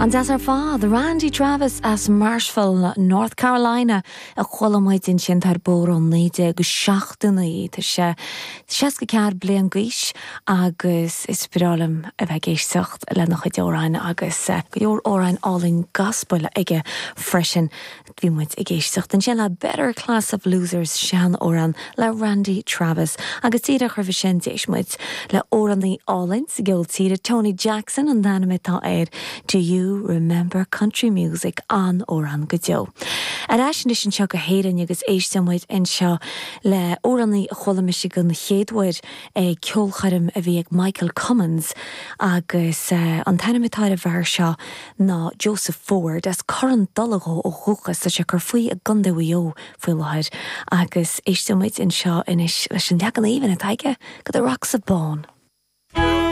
An-deas ar fad, Randy Travis as Marshville, North Carolina a chuala muid ansin, tá ar bóthar ó 1979. Tá sé 64 bliain d'aois agus is breá liom a bheith ag éisteacht lena chuid amhráin agus go leor amhráin álainn gaspail aige freisin. Bhí muid ag éisteacht ansin le Better Class of Losers, sean-amhrán le Randy Travis, agus díreach roimhe sin d'éist muid le amhránaí álainn sa gceol tíre, Tony Jackson an t-ainm atá air, Do You Remember Country Music, an-amhrán go deo. Ar ais anois anseo go hÉirinn agus éisteann muid anseo le amhránaí a chuala mise den chéad uair ag ceolchoirm a bhí ag Michael Cummins agus an t-ainm atá ar an bhfear seo ná Joseph Ford, as Corran Dola dhó ó dhúchas. Tá sé ag cur faoi i gContae Mhaigh Eo faoi láthair agus éisteann muid anseo anois leis an leagan aoibhinn atá aige de The Rocks of Bawn.